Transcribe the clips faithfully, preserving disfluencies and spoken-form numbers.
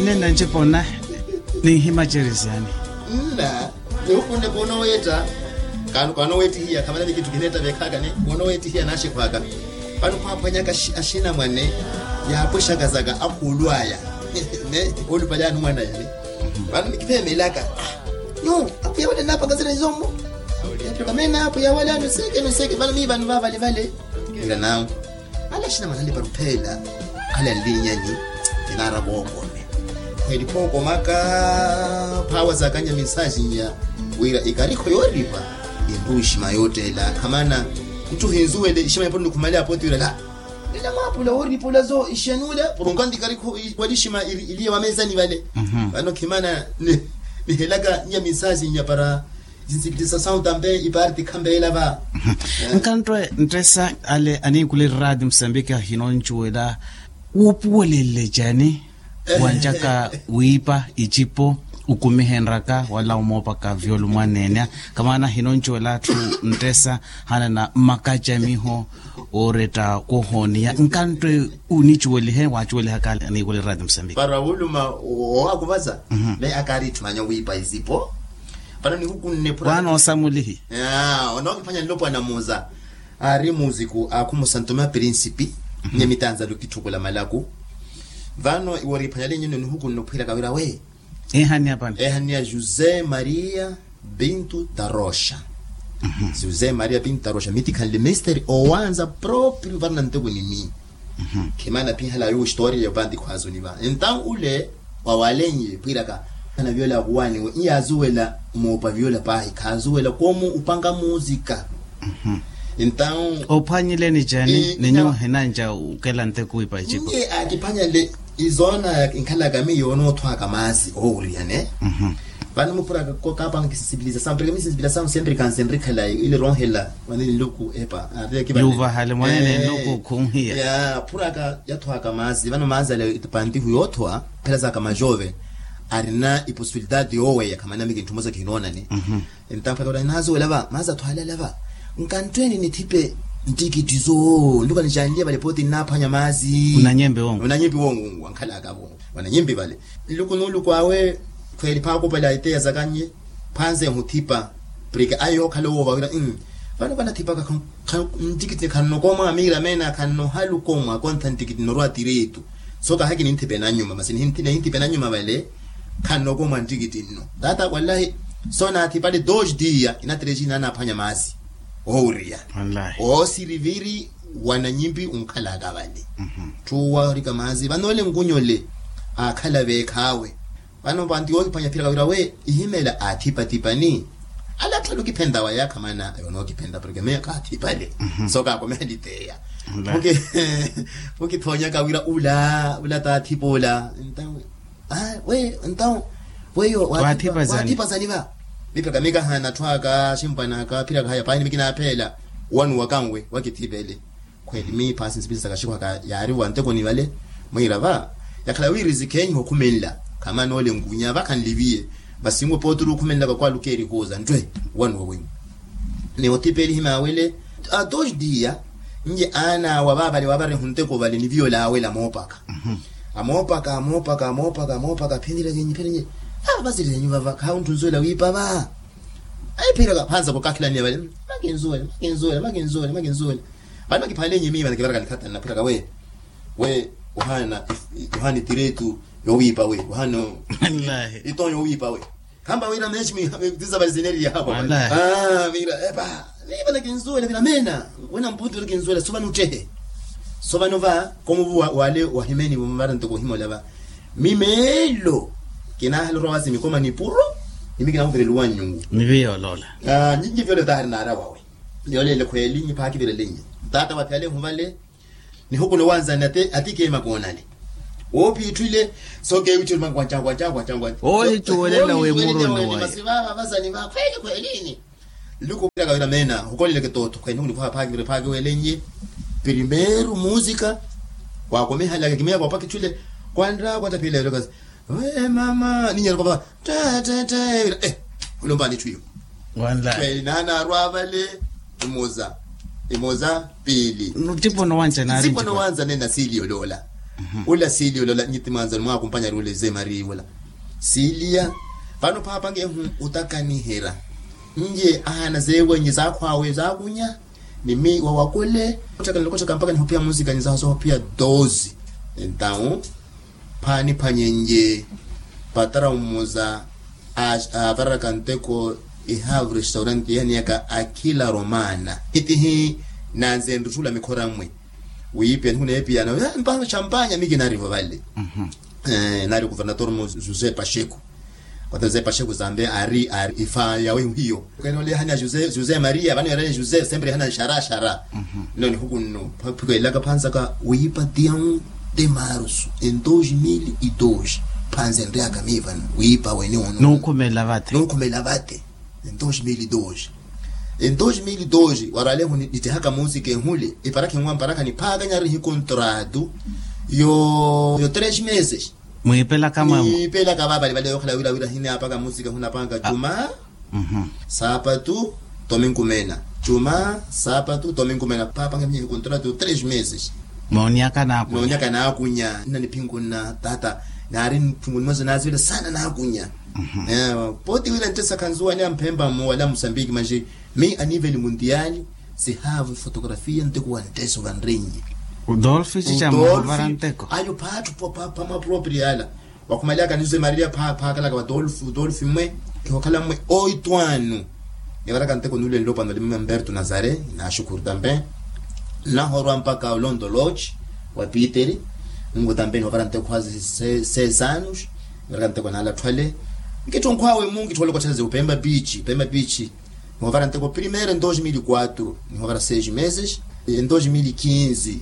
Nena ncipo na ninhima ceresyani. Nna nihukunne koonoweetta. Kaano kaanoweettihiya khamanani kitthu kineetta veekhaka ni koonoweettihiya naaxikhwaka. Vano khwaaphwanyaka axinamwane yaapwexaka zaka akhuulu aya. Ne olupalyani mwana yale. Vano nikipheemelaka. Nyu apwiya wale nnaapaka zira nizomu. Epikamena apwiya wale anuseeke nuseeke vano mii vano vaavale vale. Ira nawe. Ala axinamwane anlipa ruphela. Ala nlinyanyi. Kinaara vookome. Khweli phookomaka phaawa zakanya minsaaxi nya wira ikarikho yooripa. Inruwa ixima yoottela khamana. Nttu hinzuwele ixima yaponi nikhumale apo tiwirela. Ila mwaapula wooripa olazo ixenule purunka nti ikarikho wali ixima iliye wamezani vale. Vano khimana nihelaka nya minsaaxi nya para. Zinsikitisa sawu tampe ipaarti khampeela va. Nkanttwe nttesa ale aniikuli rraati musambiki ahinoncuwela wuupuwelelle cani wancaka wiipa icipo ukumihenraka wala umoopaka vyolu mwaneenya. Kamaana ahinoncuwela atthu nttesa hanana mmakacamiho ooretta koohooniya nkanttwe onicuwelihe waacuwelihaka ale aniikuli rraati musambiki para wuluma. Owaakuvaza me akaari itthu manya wiipa icipo. Vano nihukunne phura vano osamulihi. Onookiphwanya nlopwana muza. Aari muuziku aakhumusa ntoma prinsipi. Nye mitanzalo kitthukula malaku. Vano iwo oriphwanyalenye nihukunne ophwiraka wira we. Ehanniya pani ehanniya josé maria pinto da rocha. José maria pinto da rocha mitikhanle misteri owanza proprio varina nteko nini. Khimana phihala yo historiya yopanti khwaazuni va entawu ule wawalenye pwiraka. Ana viola akuwaniwe iyaazuwela moopa viola pahi khaazuwela koomu upanga muusika. Entawu ophwanyileni cani ninyu hinanca ukela nteko wiipa icipo. Iye aakiphwanyale izoona inkhalaka miyo onoothwaka maasi oowuriyane. Vano mupuraka kaapanga kisinsipiliza samu pereke misinsipilasamu sempre kansenrikhalayi ile ronhela. Mwanene nluku epa. Yuvahale mwanene nluku khunhiya. Phuraka yathwaka maasi vano maasi ale pantihu yoothwa. Phela zaka majove arina iposibilidade yooweya khamana miki ntthu mosa kihinoonane. Entampaka ula naazuwela va maasi athwale ala va. Nkanttweni nithipe ntikittizo nluka nicanliye vale pooti nnaaphwanya maasi. Unanyempi wongu unanyempi wongu wongu wankhalaka wongu wananyempi vale. Nluku nuluku awe khweeli phaakupela iteya zakannye. Phwanse ehuthipa. Preke aye yookhala owo vawira vano vanathipaka. Ntikitini khannokoomwa miira meena khannohalukoomwa kontha ntikitini orwa tireetu. So kaahaki ninthipe nanyuma masi nihinthipe nanyuma vale. Khannokoomwa ntikitini no tata wallahi. So naathipale dos diya inatirexi naanaaphwanya maasi. Oowuriya oosiriviri. Wananyimpi unkhalaka vale. Tthu warika maasi vano ole nkunyole aakhala veekhaawe. Vano panti wookiphwanya phiraka wira we ihimela aathipathipani. Ala atthu alukiphenta waya khamana yonookiphenta porke meyo kaathipale. So kaakomehalitheya pukithoonyaka wira ula ula taathipa ola. Ntawe we ntawe weyo waathipa zani va. Mipaka mikahaana atthu aka ximpwanaka phiraka haya paahini mikinaaphela. Wanuwa kanwe wakithipele. Khweeli miipha sinsipilisaka xikhwaka yaari wantekoni vale. Mwiira va yakhala wiri zikheenyiha okhumenla. Khamana ole nkunya va khanliviye. Masi nwe pooturu okhumenlaka kwalukeeri khuuza nttwe. Wanuwa wenyu ni othipelihi maawele. Atoxi diya nje aanaawa vaavale waavari ehunteko vale ni viola aawela amoopaka. Amoopaka amoopaka amoopaka amoopaka phinireke nyi phinenye. Ava vasirihenyu vava khaawuntthu nzuwela wiipa va. Ayi phiraka phansa khukakhilaniya vale makinzuwela makinzuwela makinzuwela makinzuwela. Vano kiphale nyimi vano kivaraka nikhatanna phiraka we we uhana uhana itiretu yowipa we uhana itonya yowipa we. Kamba wira mechi mi tizabali zineri yahapa wala ah wira epa. Niva nakinzuwela vira mena wena mputu nakinzuwela suva nuttehe. Suva nuva komuvu wale wahimeni vumuvara ntoko himola va mimelo. Kinahalorwa wasi mikoma nipuro nimi kinahuvireliwa nyungu. Niviyolola ah nyinyi vyole tahari narawawe. Yolele khweli nyi phakivirelenye tata waphiyale ehuvale. Nihukuno wanzani ati keema koonale woopiitthwile. So keewitthiru mangu wancangu wancangu wancangu wancangu oohicuwelela wemuroni waye. Masi vava vazani va khweli khwelini. Nluku piraka wira meena hukoleleke tootho khweli nihukuno phakiwele phakiwelennye. Primeiro música waakomehalaka kimeya koopakitthwile kwanra kwataphiyela yolokasi. Wee mama ninyeroko va tete tete vira eh. Olompani itthu iyo khweli naanaarwa vale. Imoza imoza piili ntipono wanca naari ntipono wanca nena siili yoloola. Ula siilia ula nyiti mwanzani mwakumpanyari ule ze marii ula. Siilia. Vano paapange ehu utakaniherya. Nje ahaana zeewenye zaakhwaawe zaakunya. Ni mi wawakule ottaka nilokotaka mpaka nihopiya musikanyi zaho sohopiya doze. Entawu phaaniphwanyenje patara umuza. Avararaka nteko ihavu restaurante ihaniyaka akila romana itihi. Nanze nruttula mikhora mmwe wiipiya nihuneepiyana mpano champanya mi kinaarivo vale. Naari kuvernator mo josé pacheco. Kota josé pacheco zambe ari ari ifa yawe hiyo. Kwenolehanya josé maria vano yarene josé sempre ihana nxara xara. Nno nihuku nno phikweelaka phanzaka wiipa tiyawu te marusu en dos mil e dos. Phanze nriyaka mi vano wiipa wene ono. Nunkhumela vate. Nunkhumela vate. En dos mil e dos. En dos mil e dos waralehu nittihaka musika ehule iparakha enwa mparakha niphaakanyari hikontratu yo tres meses. Mwiipelaka mwamwe. Mwiipelaka vavali vale yokhala wira wira hineapaka musika hunapanka juma, saapatu, tominkumena. Juma, saapatu, tominkumena paapanka minyaka hikontratu tres meses. Moonyaka naakunya. Nna niphinkunna tata naari niphinkunna mwazo naazivela sana naakunya. Pooti wira nttesa khanzuwani amphempa mmo wala musambiki manji. Mi aniveli mundiali sihaavu fotografia nteko wa nttesa ola nrenyi. Udolfi cicamuvara nteko. Ayo phaattu pamapropria ala. Wakhumaliyaka nizo emaria phaakalaka wa dolfi dolfi mmwe. Kihokhala mmwe oitu anu. Nivaraka nteko nuule nlopano limamberto nazare. Naaxukuru tampe. Nnahorwa mpaka olondo lodge wa piteri. Ngu tampe nihovara nteko hazi seis anus. Nivaraka nteko naala atthu ale. Nkitthonkhwawe mu nkitthole kotthaza upemba piichi upemba piichi. Nihovara nteko primeiro en dos mil e quatro nihovara seis meses. En dos mil e quinze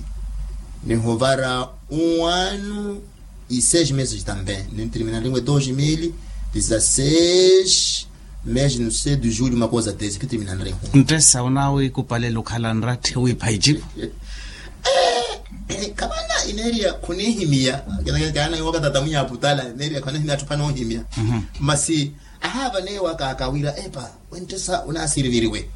nihovara um ano e seis meses também nintirmina nriwe dos mil e dezasseis. Mês no sei de julho uma coisa desse que termina nriwe. Nttesa onaawe ikupalelo okhala nratthi wiipha icipo. Khamana ineeriya khuniihimiya. Kaana iwaka tata mwinya aputala ineeriya khwanihimiya atthu phanoohimiya. Masi ahaavaneewa kaaka wira epa wenttesa onaasiriviriwe.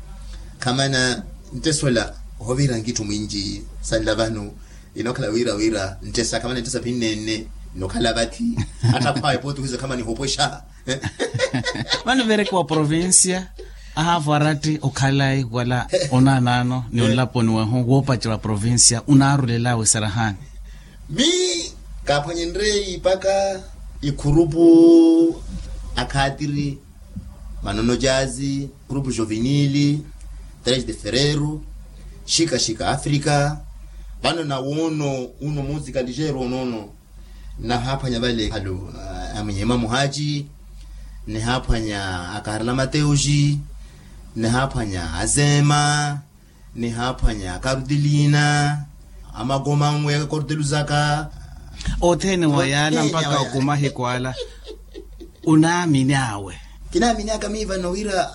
Khamana nttesa ola ohovira nkitthu mwinji sanla vano. Inookhala wira wira nttesa khamana nttesa phinnenne. Inookhala vathi attakhwaawe pooti ohiza khamana ihopwexa. Vano verekiwa provincia ahaavo aratti okhalayi wala onaanaano ni onlaponi wehu woopacerya provincia onaarulelaawe sarahaani. Mi kaaphwanyenrye ipaka ikhurupu akhaatiri manono jazi grupu jovinili tres de ferreiro xika xika afrika. Vano nawoono uno musika ligeiro onoono. Nahaaphwanya vale alu amwinyema muhaci nihaaphwanya akarla mateuxi nihaaphwanya azema nihaaphwanya akarudilina. Amakomanwe korteluzaka othene wa yaala mpaka okuma hikwala. Unaamini awe. Kinaaminaka miiva nowira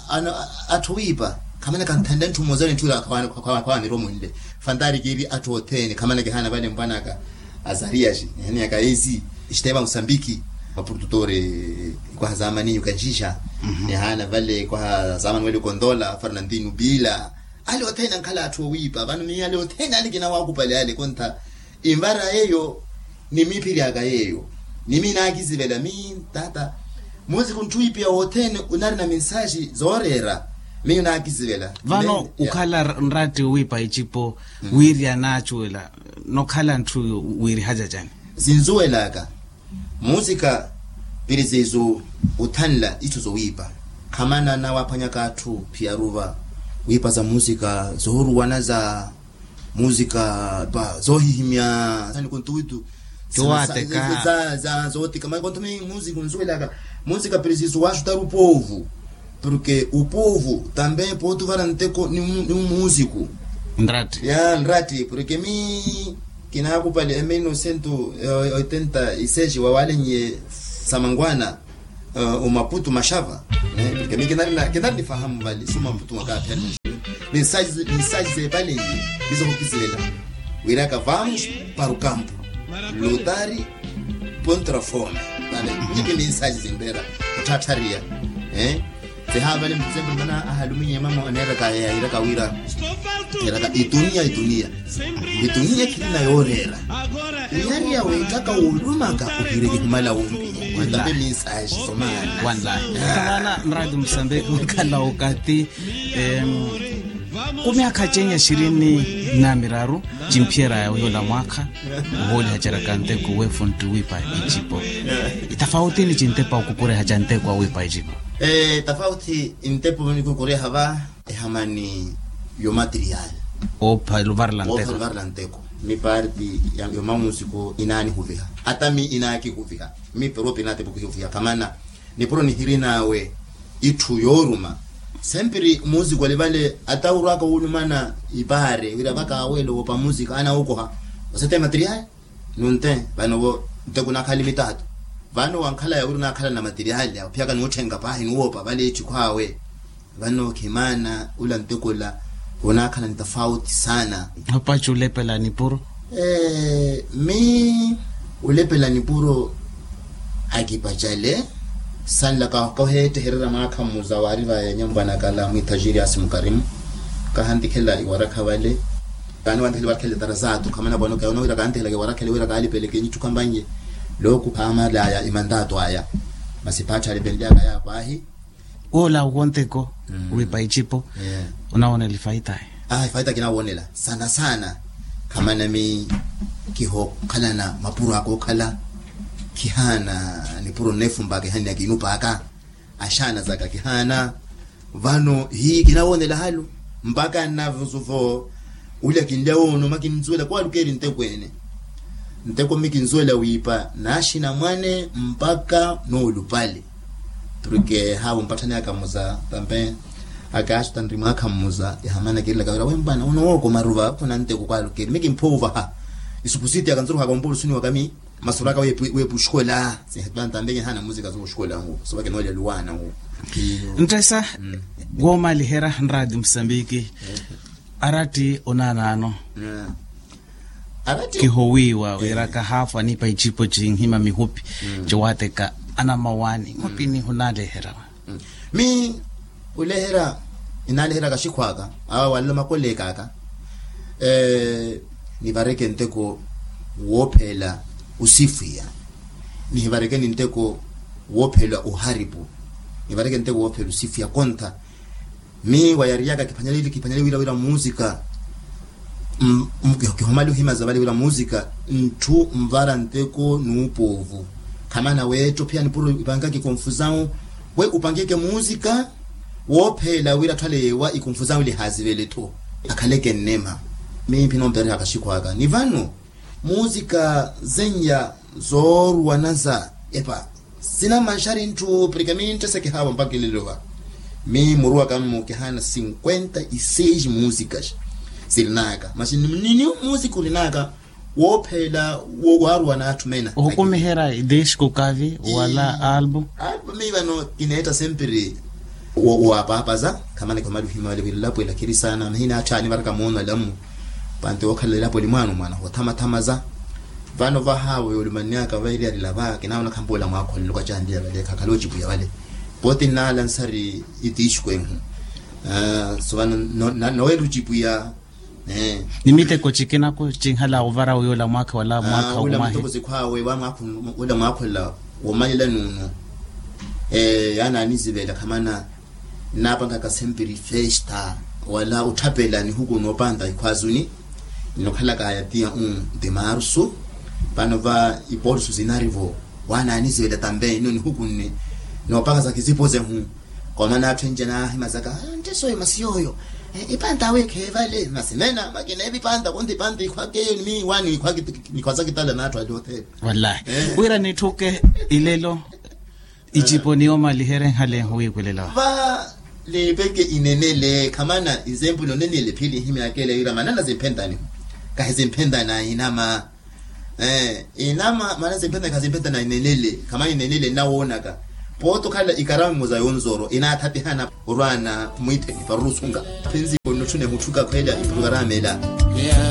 atthu wiipa khamana kanthanle ntthumozani ntthula. Khawaniromunle fantari kiiri atthu othene khamana kihana vale mpwanaka azariasi nihaniyaka esi. Xitema musambiki mapurtutore kwaha zamani yukanxixa nihana vale kwaha zamani wele kondola fernandino bila. Ale othene ankhala atthu owiipa vano miyo ale othene ale kinawaakupale ale kontha. Invara yeeyo ni miiphiryaka yeeyo ni miinaakisivela mi tata. Musiku ntthu iipiya wothene onarina minsaxi zooreera. Miyo naakisivela vano ukhala nratti owiipa icipo wiiri anaacuwela nokhala ntthu wiirihaca cani. Sinzuwelaka musika pirizizu othanla itthu zowiipa. Khamana nawaaphwanyaka atthu phiyaruva wiipa za musika zooruwana za musika pa zoohihimya sani kontuwitu. Tiwaateka za za zootika mani kontu mi musika onzuwelaka musika pirizizu waaxutari upoovu. Porque upoovu tambe pooti ovara nteko ni musiku nratti ya nratti porque mi kinaakupale e mil novecentos oitenta e seis wawalenye samangwana omaputu maxava. Porque mi kinari nifahamu vale sumaputu mwakaaphela mensaji zeepalenye. Mizohokisivela wiraka vamos para o campo lutari contra fome. Vale nyipi mensaji zimpera otthaattharia. Sehaavale muthu sempre mana ahaluminya emama oneeraka yayiraka wira eraka itunia itunia itunia khilina yooreera. Wiyariya weettaka woolumaka ohiire kihumala wumpiya. Wentape minsaaxi somaana. Wanlahi. Kamana mradi musambeki onkhala okathi. Ku myaakha cenya xirini na miraru, cimphiyeraya wiyoola mwaakha ohoolihaceraka nteko weefuntti wiipa icipo. Itafawutini cintepa okukurehaca nteko wa wiipa icipo? Tafawuti ntepo nikukureha va, ehamani yo material. Oopha luvarela nteko. Oopha luvarela nteko. Ni parti ya mamusiko inaanihuviha, ata mi inaakihuviha. Mi peropi inatepa okihuviha kamana. Nipuro nihirin'awe itthu yooruma. Sempiri musiku ali vale ata urwaka wulumana ipaare wira vakaaweelo woopa musiku anawokoha. Osete material nunte vano vo nte kunakhali mitaatu. Vano wankhalaya wira onaakhalana material aphiyaka nuutthenka paahi nuwoopa vale ettikhu awe. Vano khimaana ula ntekola onaakhala ntafauti saana. Opaci ulepela nipuro? Mi ulepela nipuro akipacale. Sanlaka kaheettehererya mwaakha mmuza waari vaya nyambwanakala mwiithajiri asi mukarimu. Kahantikhela iwarakha vale. Kaani wantikhela iwarakha ele tarazaatu khamana bwanokeya onawira kaantihelaka iwarakha ele wira kaalipeleke nyitthu khampanye. Looku khaamalaya imantaatu aya. Masi paatthe alipenlyaka yaapwahi. Woola wonteko wiipa icipo. Onawoonela ifaitayi? Ifaitayi kinawoonela sana sana. Khamana mi kihookhalana mapuro aka okhala. Khihaana nipuro nneefumpaka ehanni akinupaaka. Axaana zaka khihaana. Vano hi kinawoonela halu mpaka nnavuzuvo. Ulya kinlya woono makinzuwela kwalukeeri ntekweene. Nteko mi kinzuwela wiipa naaxina mwane mpaka noolupale. Porke haawo mpatthani aka mmuza tampe akaaxuta nri mwaakha mmuza yahamana kirilaka wira wempwana onowooko maruva khuna nteko kwalukeeri mi kimphuuvaha. Isupusiti aka nzuruhaka ompulusuni waka mi masuraka weepuxikola. Sinhepantambeke hana muzika zooxikola ngu sovake noolya luwaana ngu. Nttesa woomaliherya nraati musambiki. Aratti onaanaano kihowiiwa wira kahaafu aniipa icipo cinhima mihupi. Ciwaateka anamawaani mhupini hunaleherya. Mi oleherya inaaleherya kaxikhwaka awa walelo makoleekaka. Nivareke nteko woophela osifwiya. Nihivarekeni nteko woophela oharipu. Nivareke nteko woophela osifwiya kontha. Mi wayariyaka kiphwanyale kiphwanyale wira wira musika. Kihomali ohimaza vale wira musika ntthu nvara nteko nuupoovu. Khamana weetto phiya nipuro ipankaka ikonfusawu we upankeke musika. Woophela wira atthu ale yeewa ikonfusawu lihazivele tho akhaleke nnema. Mimphi nompererya kaxikhwaka ni vano musika zeenya zooruwana za epa. Sina manxari ntthu porke mi nttesekehaavo mpaka elelo va. Mi muruwaka-mmu kihaana cinquenta e seis musicas sirinaka masi nini musika urinaka woophela waaruwa n'atthu mena. Ohukumiherya idisku kavi wala albu. Albu mi vano kineetta sempiri. Waapaapaza khamana kihomali ohima vale wira elapo ela khiri saana mahina atthu aanivaraka moono alamu. Panti wookhala elapo eli mwaana omwaana hoothamathamaza. Vano vahaawo yoolumannyaka vairiyarila va kinaawona khampa ola mwaakholela okacandiya vale khakhale ocipuya vale. Pooti nnaala nsari itiixuku ehu. So vano naweela ocipuya. Ni miteko cikina ku cinhala ovara wiyoola mwaakha wala mwaakha ula mwahi miteko sikhwaawe wa mwaakha ula mwaakha ula womalela nuunu. Yaani anizivela khamana nnaapangaka sempiri festa wala otthapela nihuku noopanta ikhwazuni. Nokhalaka yatiya un de marsu. Vano va iporsu sinarivo wana anizivela tambe ino nihuku nne noopaka za kizipoze hu. Komana atthu enje naahimazaka ntte soyo masi yooyo. Ipanta awe kheevale masi mena makina evipanta konti ipanta ikhwake eyo ni mi wani ikhwazakitala n'atthu ali othene. Wallahi wira nitthuke ilelo icipo niyoomaliherye nhale nhuwiikwelela va. Liipeke inenele khamana izempuli onenele phili nhimyakele wira manana zimphentani kahi zimphentana inama. Inama mana zimphentana kazimphetana inenele khamana inenele nnawoonaka. Pooti okhala ikaramu muza yonzoro inaathatihana orwaana mwiitheni parurusunga. Phinzi onotthune muthuka khweela iprokarama ela.